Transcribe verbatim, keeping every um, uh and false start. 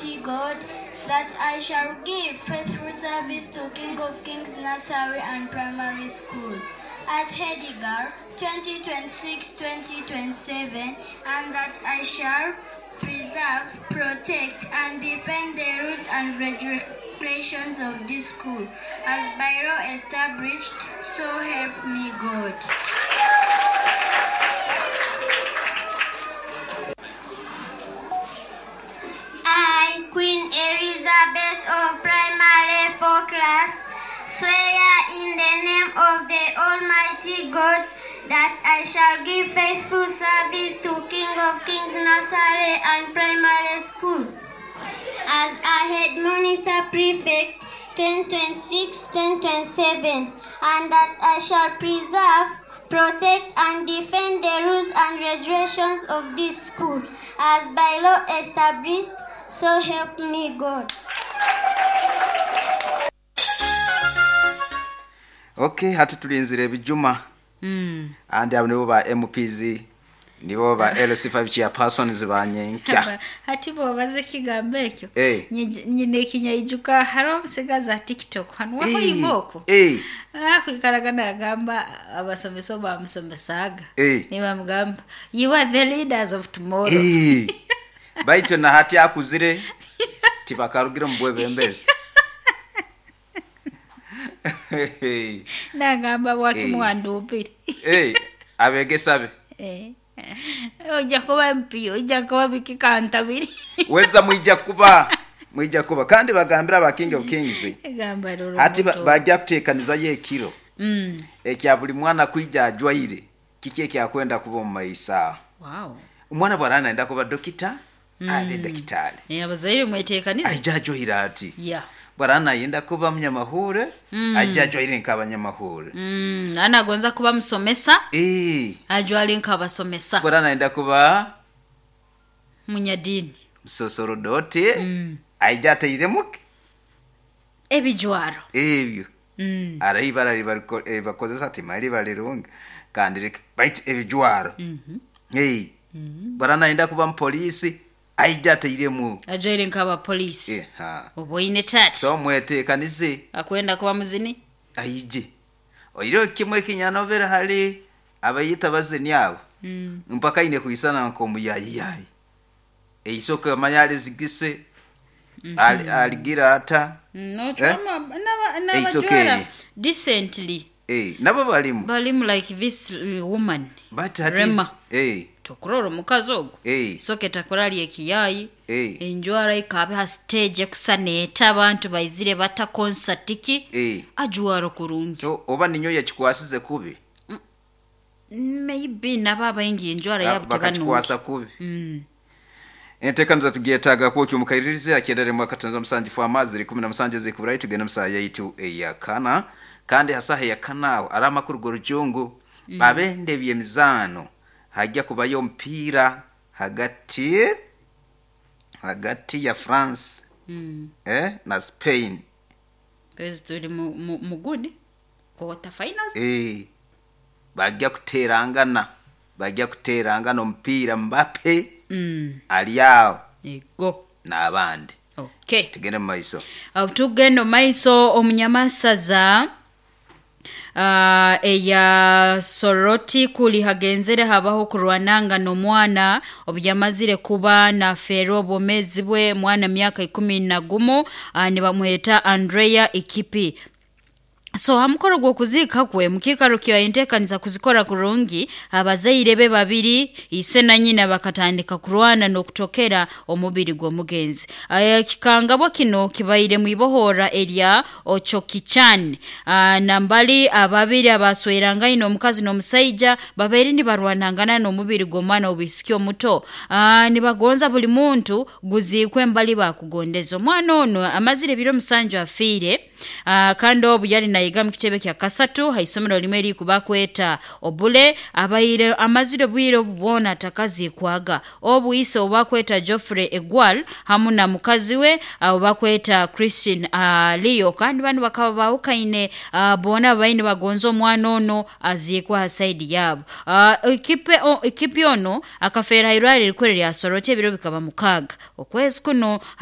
Almighty God, that I shall give faithful service to King of Kings Nursery and Primary School as head girl twenty twenty-six twenty twenty-seven, and that I shall preserve, protect, and defend the rules and regulations of this school as by law established, so help me God. I, Queen Elizabeth of Primary four class, swear in the name of the Almighty God that I shall give faithful service to King of Kings Nursery and Primary School as a head monitor prefect twenty twenty-six twenty twenty-seven, and that I shall preserve, protect, and defend the rules and regulations of this school as by law established, so help me God. Okay, hati tulinzire ebijuma. Mm. Andi abo nibo ba M Ps, nibo ba L C five chairpersons ba nyenkya. Hati bo baze kigambo ekyo. Hey. Nyine ekinyaijuka hariho omusigazi aha TikTok hanu Hey. wahoimoko. Hey. Ah, kwikaraga nagamba abasomesa bamusomesaga. Hey. Nibamugamba, you are the leaders of tomorrow. Hey. Baitu na hati akuzire tibakarugire mu bwebembezi. Nagamba bwakimuwanduupire. Hey, abegesa be. Eh. Ojja kuba M P, ojja kuba biki kantabiri. Weza mwijja kuba, mwijja kuba. Kandi bagambira aba King of Kings. Gamba roro. Hati bajja kuteekaniza ye ekiro. Mm. Ekya buli mwana kwijja ajwaire. Kiki ekyakwenda kuba mu maisa. Wow. Omwana bw'arana enda kuba dokita, Mm. abe dakitari. Eh, abazaire mweteekanize. Ajja ajwaire ati. Yeah. Bwarana yenda kuba munyamahure, Mm. ajja ajwaire nk'abanyamahure. Mm, anagonza kuba musomesa. Eh. Ajwale nk'abasomesa. Bwarana yenda kuba munyadini. Musosorodoti. Mm. Ajja ateiremu ebijwaro. Ebyo. Mm. Ara ibara ribariko bakozesa ati mali balirunga kandi bait ebijwaro. Mhm. Eh. Mm. Bwarana yenda kuba mupolisi. Aija ateiremu. Ajwaire nk'aba polisi. Eh, ha. Oboine tati. So mweteekanize. Akwenda kuba muzini? Aije. Oiro kimwe kinyanovera hali abayita bazini abo. Mm. Mpaka ine kuisana nko muyayiyayi. Eisoka manyale zigise. Mm -hmm. -hmm. Aligira ata. No, eh? chama naba It's naba decently. Eh, nabo balimu. Balimu like this woman. But hati Rema. Eh. Tokurora omukazi ogwo. Eh. Soke takorali ekiyayi. Eh. Enjwara ikabe ha stage kusaneeta abantu baizire bata concert ki. Eh. Ajwara kurungi. So oba ninyo yakikwasize kubi. Mm. Maybe nabo abaingi enjwara yabo bakakikwasa kubi. Mm. Entekaniza tugyetaaga kwokyo mukairirize akyendere mwaka tanza musanju fwa amazi kumi na musanju zikuburayi tugenda musaha yaitu eyakana kandi hasaha eyakana aho ari amakuru g'orujungu. Mm. Abende by'emizaano hajya kubayo omupiira hagati hagati ya France mm. eh, na Spain. Pezi tuli mu, mu, muguni quarter finals. Eh, bajya kuterangana bajya kuterangana omupiira Mbappe. Mm. Ali awo ego n'abandi. Okay. Tugende mu maiso. Uh, tugende mu maiso omunyamasaza Uh, eya Soroti kuli hagenzere habaho kurwananga n'omwana obu yamazire kuba na fero obwomezi bwe mwana myaka ikumi na gumu, uh, nibamweta Andrea Ikipi. So hamukoro gw'okuziika kwe mukikaro kya enteekaniza kuzikora kurungi, abazaire be babiri ise na nyina bakatandika kurwana n'okutokera omubiri gw'omugenzi. Ekikangabwa kino kibaire mwibohora erya Ochokichan. Nambali ababiri abaswerangaine omukazi n'omusaija babaire nibarwanangana n'omubiri gw'omwana obwisiki omuto. Nibagonza buli muntu guziikwe mbali bakugondeza. Omwana ono amazire ebiro musanju afiire, kandi obu yali nayiga mu kitebe kya kasatu haisomero limwe erikuba kweta obule abaire amazire bwire obubona atakazikwaga. Obu ise obakweta Geoffrey Egwal hamu na mukazi we obakweta Christine uh, Leo, kandi bano bakaba bawukaine uh, bona baine bagonza omwana ono azikwa ha side yabo. Uh, ikipe o, ikipe ono akafera irwari rikorera lya Soroti ebiro bikaba mukaga okwezi kuno.